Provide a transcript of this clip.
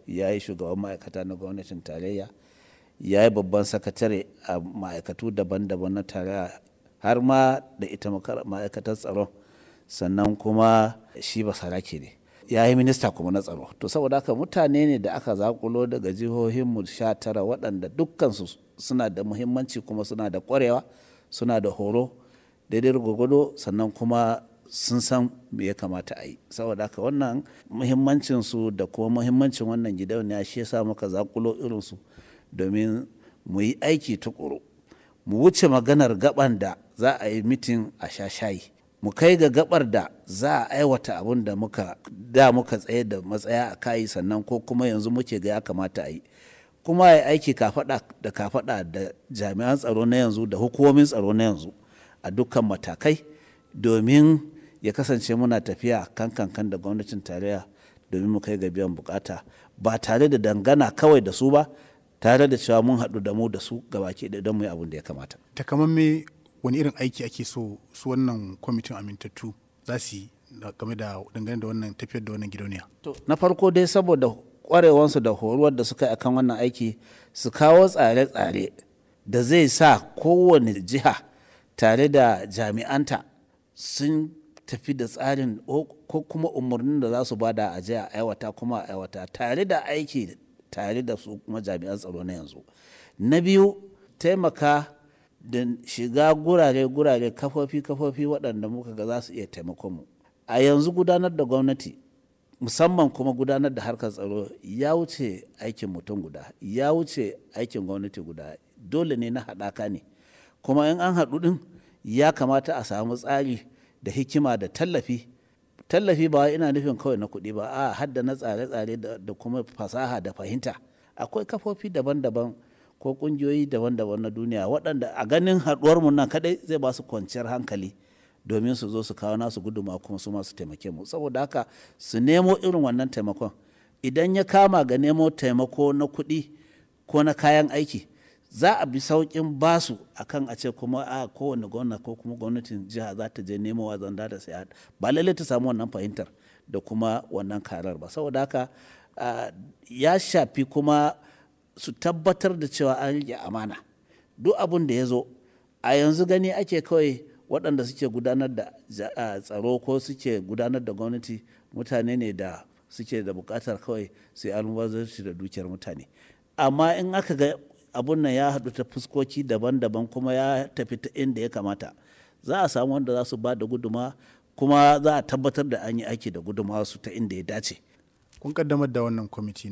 Ya yi shugaban ma'aikata na gwamnatin tarayya, ya yi babban sakatare a ma'aikatu daban-daban na tarayya har ma da ita ma'aikatar tsaron. Sannan kuma shi basarake ne. Ya yi minista kuma na tsaro. To saboda haka mutane ne da aka zaƙulo daga jihohinmu 19 waɗanda dukkansu suna da muhimmanci kuma suna da ƙwarewa, suna da horo daidai gwargwado, sannan kuma sun san me ya kamata a yi. Saboda haka wannan muhimmancinsu da kuma muhimmancin wannan gidauniya shi ya sa muka zaƙulo irinsu domin mu yi aiki tuƙuru. Mu wuce maganar gaɓan da za a yi mitin a sha shayi. Mu kai ga gaɓar da za a aiwata abun da muka da muka tsaye da matsaya a kai, sannan ko kuma yanzu muke ga ya kamata a yi. Kuma ya aiki kafaɗa da kafaɗa da jami'an tsaro na yanzu da hukumomin tsaro na yanzu a dukkan matakai domin ya kasance muna tafiya kankankan da gwamnatin tarayya domin mu kai ga biyan bukata ba tare da dangana kawai da su ba, tare da cewa mun haɗu da mu da su gabaki ɗaya don mu yi abun da ya kamata. Takamamme wani irin aiki ake so su wannan kwamitin amintattu za su yi game da dangane da wannan tafiyar da wannan gidauniya? To, na farko dai, saboda ƙwarewansu da horuwar da suka yi akan wannan aiki, su kawo tsare-tsare da zai sa kowane jiha tare da jami'anta sun tafi da tsarin ko kuma umarnin da za su bada a je a aiwata, kuma a aiwata tare da aiki tare da su kuma jami'an tsaro na yanzu. Na biyu, taimaka da shiga gurare-gurare, kafofi-kafofi waɗanda muka ga za su iya taimakon mu. A yanzu gudanar da gwamnati, musamman kuma gudanar da harkar tsaro, ya wuce aikin mutum guda, ya wuce aikin gwamnati guda. Dole ne na haɗaka ne. Kuma in an haɗu ɗin, ya kamata a samu tsari da hikima da tallafi. Tallafi ba wai ina nufin kawai na kuɗi ba, a'a, har da na tsare-tsare da kuma fasaha da fahimta. Akwai kafofi daban-daban ko ƙungiyoyi daban-daban na duniya waɗanda a ganin haɗuwar mu nan kaɗai zai ba su kwanciyar hankali domin su zo su kawo nasu gudummawa kuma su ma su taimake mu. Saboda haka su nemo irin wannan taimakon. Idan ya kama ga nemo taimako na kuɗi ko na kayan aiki, za a bi sauƙin basu akan a ce kuma a kowane gwamna ko kuma gwamnatin jiha za ta je nemowa zanda da saya. Ba lallai ta samu wannan fahimtar da kuma wannan karar ba. Saboda haka ya shafi kuma su tabbatar da cewa an riƙe amana. Duk abun da ya zo a yanzu, gani ake kawai waɗanda suke gudanar da tsaro ko suke gudanar da gwamnati mutane ne da suke da buƙatar kawai su yi almubazzaranci da dukiyar mutane. Amma in aka ga abun nan ya haɗu ta fuskoki daban-daban kuma ya tafi ta inda ya kamata, za a samu wanda za su ba da gudummawa kuma za a tabbatar da an yi aiki da gudummawarsu ta inda ya dace. Kun ƙaddamar da wannan kwamiti na